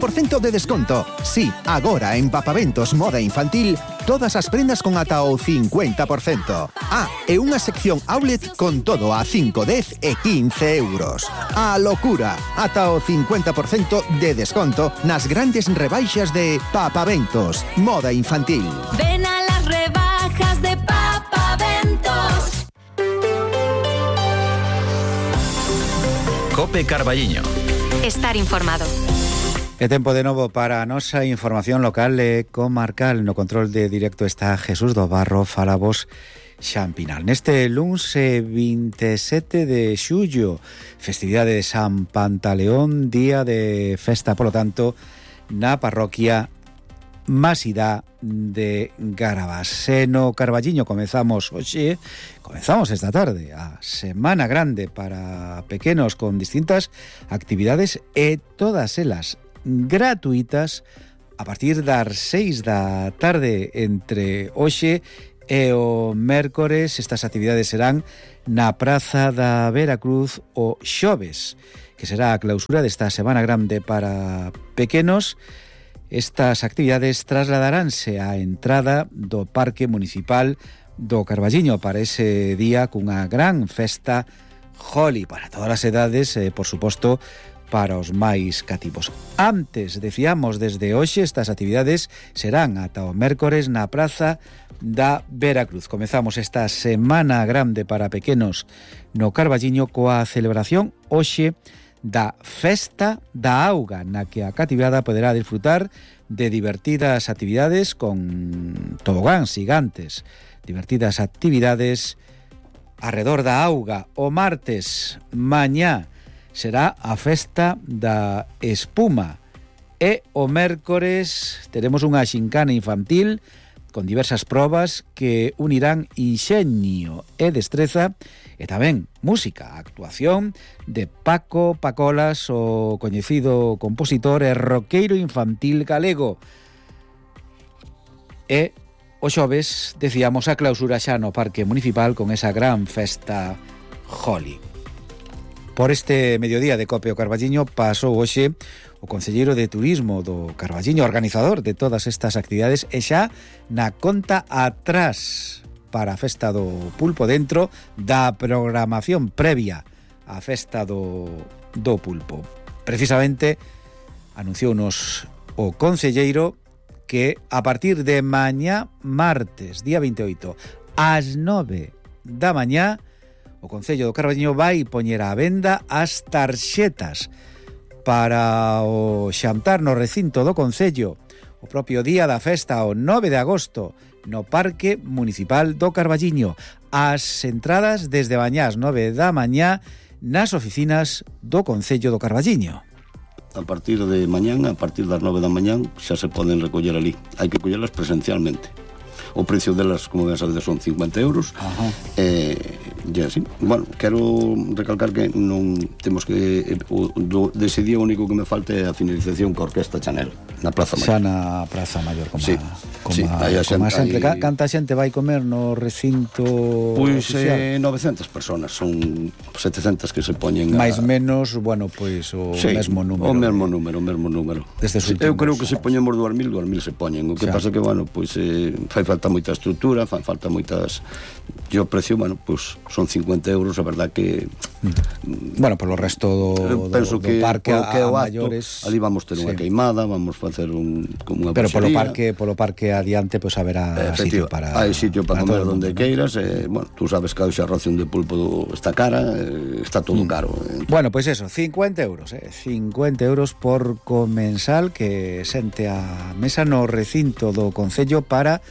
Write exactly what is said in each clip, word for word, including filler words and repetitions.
por cento de desconto. Sí, agora en Papaventos Moda Infantil, todas as prendas con ata o cincuenta por cento. Ah, e unha sección outlet con todo a cinco, dez e quince euros. A locura, ata o cincuenta por cento de desconto nas grandes rebaixas de Papaventos Moda Infantil. Ven a las rebajas de Papaventos. Cope Carballiño. Estar informado. É tempo de novo para a nosa información local e comarcal. No control de directo está Jesús do Barro, falabos Xampinal. Neste luns vinte e sete de xullo, festividade de San Pantaleón, día de festa, polo tanto, na parroquia Masida de Garabás. E no Carballiño comezamos hoxe, comezamos esta tarde a Semana Grande para pequenos con distintas actividades e todas elas gratuitas a partir das seis da tarde entre hoxe e o mércores. Estas actividades serán na Praza da Veracruz o xoves, que será a clausura desta Semana Grande para pequenos. Estas actividades trasladaránse á entrada do Parque Municipal do Carballiño para ese día cunha gran festa Holi para todas as edades e, por suposto, para os máis cativos. Antes, decíamos, desde hoxe estas actividades serán ata o mércores na Praza da Veracruz. Comezamos esta Semana Grande para pequenos no Carballiño coa celebración hoxe da Festa da Auga, na que a cativada poderá disfrutar de divertidas actividades con tobogáns gigantes, divertidas actividades arredor da auga. O martes, mañá, será a Festa da Espuma e o mércores teremos unha xincana infantil con diversas probas que unirán inxenio e destreza e tamén música, actuación de Paco Pacolas, o coñecido compositor e roqueiro infantil galego. E o xoves, decíamos, a clausura xa no Parque Municipal con esa gran festa Holi. Por este mediodía de Cope o Carballiño pasou hoxe o concelleiro de Turismo do Carballiño, organizador de todas estas actividades, e xa na conta atrás para a festa do pulpo dentro da programación previa á festa do, do pulpo. Precisamente anunciounos o concelleiro que a partir de mañá martes, día vinte e oito, ás nove da mañá, o Concello do Carballiño vai poñer á venda as tarxetas para o xantar no recinto do Concello o propio día da festa, o nove de agosto, no Parque Municipal do Carballiño. As entradas desde mañá ás nove da mañá nas oficinas do Concello do Carballiño. A partir de mañán, a partir das nove da mañán, xa se poden recoller ali. Hai que collelas presencialmente. O precio delas, como ben sabedes, son cincuenta euros. Ajá. Eh, e así, bueno, quero recalcar que non temos que eh, o, do, dese día o único que me falta é a finalización coa Orquesta Chanel na Praza Maior. Xa na Praza Maior, como sí, a, como sí, a, a como a xente, sempre. hai... Canta xente vai comer no recinto Pois oficial? eh, novecentas personas, son setecentas que se poñen máis a... menos, bueno, pois o sí, mesmo número. o mesmo número, o mesmo número. Sí, eu creo que se poñemos dúas mil, dúas mil se poñen. O que xa. Pasa que, bueno, pois eh, fai falta moita estrutura, fai falta moitas... E o precio, bueno, pois son cincuenta euros, a verdad que... Mm. Bueno, polo resto do, penso do, que, do parque a, que a acto, maiores... Ali vamos ter unha sí. queimada, vamos facer un, como unha Pero polo buxería. parque, polo parque adiante, pois pues, haberá sitio para... Hai sitio para, para comer onde mundo, queiras, eh, bueno, tú sabes que a ración de pulpo está cara, eh, está todo mm. caro. Eh. Bueno, pois pues eso, cincuenta euros, eh, cincuenta euros por comensal que sente a mesa no recinto do Concello para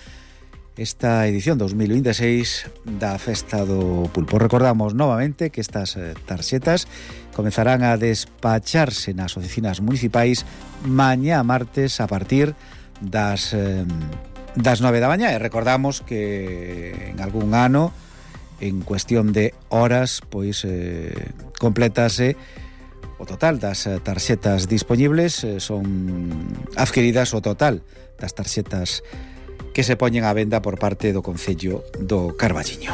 esta edición dos mil vinte e seis da Festa do Pulpo. Recordamos novamente que estas eh, tarxetas comezarán a despacharse nas oficinas municipais mañá martes a partir das eh, das nove da mañá, e recordamos que en algún ano, en cuestión de horas, pois eh, completase o total das tarxetas dispoñibles, eh, son adquiridas o total das tarxetas que se poñen á venda por parte do Concello do Carballiño.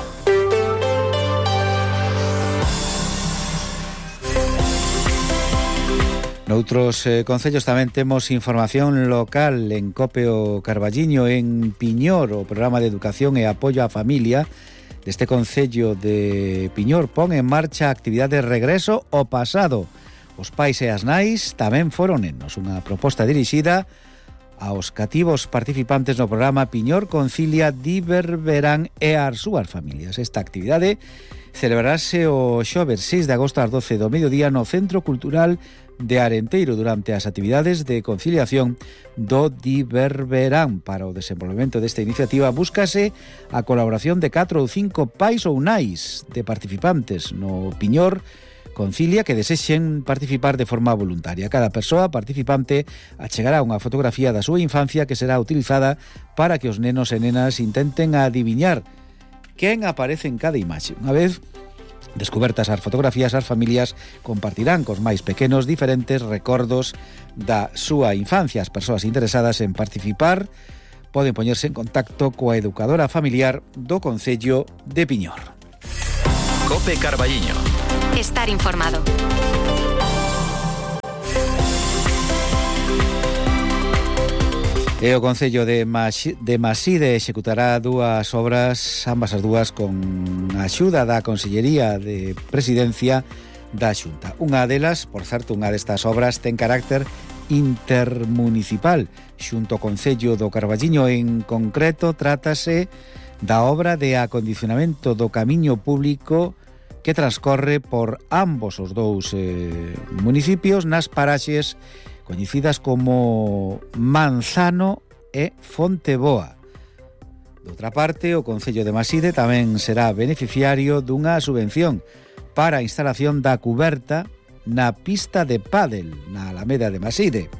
Noutros eh, concellos tamén temos información local en Copeo Carballiño, en Piñor, o programa de educación e apoio á familia deste concello de Piñor pon en marcha a actividade de regreso ao pasado. Os pais e as nais tamén foron nenos, unha proposta dirixida aos cativos participantes no programa Piñor Concilia Diverberán e as súas familias. Esta actividade celebrarase o xoves seis de agosto ás doce do mediodía no Centro Cultural de Arenteiro durante as actividades de conciliación do Diverberán. Para o desenvolvemento desta iniciativa búscase a colaboración de catro ou cinco pais ou nais de participantes no Piñor Concilia que desexen participar de forma voluntaria. Cada persoa participante achegará unha fotografía da súa infancia que será utilizada para que os nenos e nenas intenten adiviñar quen aparece en cada imaxe. Unha vez descubertas as fotografías, as familias compartirán cos máis pequenos diferentes recordos da súa infancia. As persoas interesadas en participar poden poñerse en contacto coa educadora familiar do Concello de Piñor. Cope Carballiño. Estar informado. E o Concello de, Mas- de Maside executará dúas obras, ambas as dúas con a axuda da Consellería de Presidencia da Xunta. Unha delas, por certo, unha destas obras ten carácter intermunicipal. Xunto ao Concello do Carballiño, en concreto, trátase da obra de acondicionamento do camiño público que transcorre por ambos os dous eh, municipios nas paraxes coñecidas como Manzano e Fonteboa. Doutra parte, o Concello de Maside tamén será beneficiario dunha subvención para a instalación da cuberta na pista de pádel na Alameda de Maside.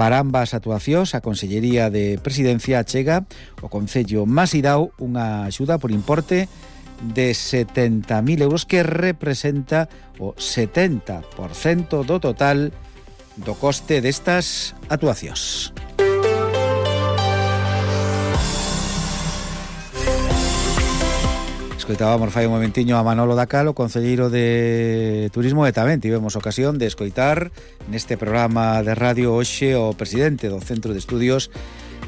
Para ambas actuacións, a Consellería de Presidencia achega o Concello Masidao unha axuda por importe de setenta mil euros que representa o setenta por cento do total do coste destas actuacións. Escoitábamos fai un momentiño a Manolo Dacal, o concelleiro de Turismo, e tamén tivemos ocasión de escoitar neste programa de radio hoxe o presidente do Centro de Estudios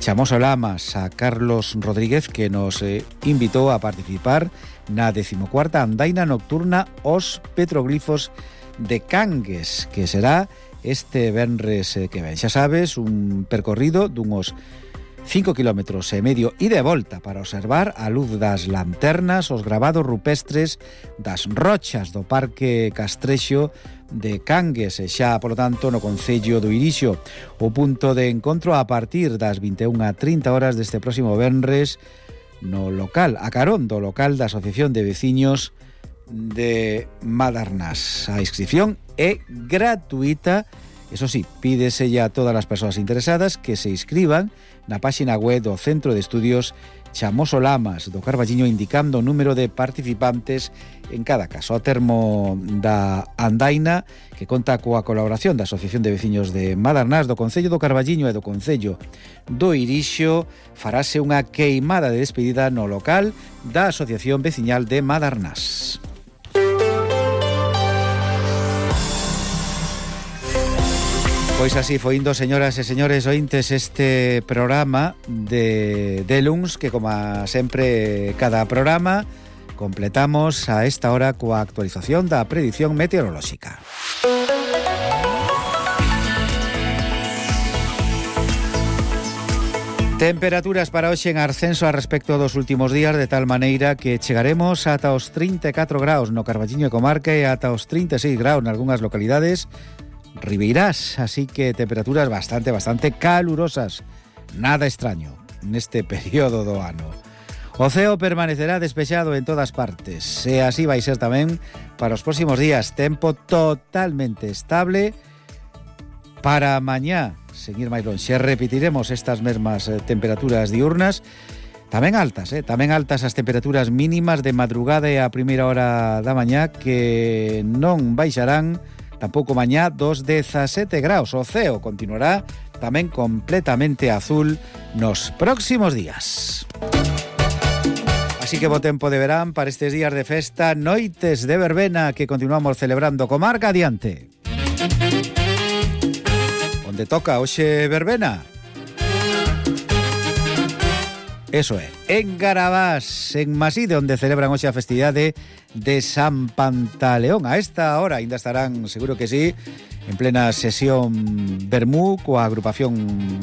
Chamoso Lamas, a Carlos Rodríguez, que nos eh, invitou a participar na decimocuarta andaina nocturna Os Petroglifos de Cangues, que será este venres que ven. Xa sabes, un percorrido dunhos cinco kilómetros e medio e de volta para observar a luz das lanternas os gravados rupestres das rochas do Parque Castrexo de Cangues, e xa, polo tanto, no Concello do Irixo. O punto de encontro a partir das vinte e unha e trinta horas deste próximo venres no local, a carón do local da Asociación de Veciños de Madarnás. A inscripción é gratuita. Eso sí, pídese ya a todas as persoas interesadas que se inscriban na páxina web do Centro de Estudios Chamoso Lamas do Carballiño, indicando o número de participantes en cada caso. O termo da andaina, que conta coa colaboración da Asociación de Veciños de Madarnás, do Concello do Carballiño e do Concello do Irixo, farase unha queimada de despedida no local da Asociación Veciñal de Madarnás. Pois así foi indo, señoras e señores ointes, este programa de, de luns, que como sempre cada programa completamos a esta hora coa actualización da predición meteorolóxica. Temperaturas para hoxe en ascenso a respecto dos últimos días, de tal maneira que chegaremos ata os trinta e catro graus no Carballiño e comarca e ata os trinta e seis graus nalgunhas localidades ribeirás, así que temperaturas bastante, bastante calurosas. Nada extraño neste período do ano. O ceo permanecerá despexado en todas partes, e así vai ser tamén para os próximos días. Tempo totalmente estable para mañá. Seguir máis lonxe, repetiremos estas mesmas eh, temperaturas diurnas, tamén altas, eh? tamén altas as temperaturas mínimas de madrugada e a primeira hora da mañá, que non baixarán tampouco mañá dos dezasete graus. O ceo continuará tamén completamente azul nos próximos días. Así que bo tempo de verán para estes días de festa, noites de verbena que continuamos celebrando. Comarca adiante. onde toca hoxe verbena. Eso é, en Garabás, en Maside, onde celebran hoxe a festividade de San Pantaleón. A esta hora ainda estarán, seguro que sí, en plena sesión vermú coa agrupación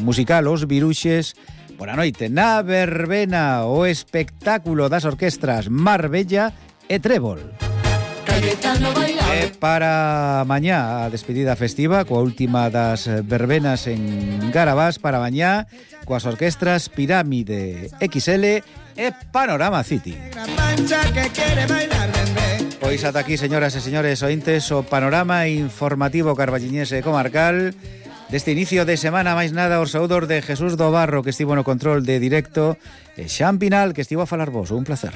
musical Os Viruxes. Por a noite, na verbena, o espectáculo das orquestras Marbella e Trébol. E para mañá a despedida festiva coa última das verbenas en Garabás, para mañá coas orquestras Pirámide X L e Panorama City. Pois ata aquí, señoras e señores ointes, o panorama informativo carballiñese e comarcal deste inicio de semana. Máis nada, os saúdos de Jesús do Barro, que estivo no control de directo, e Xan Pinal, que estivo a falar vos. Un placer.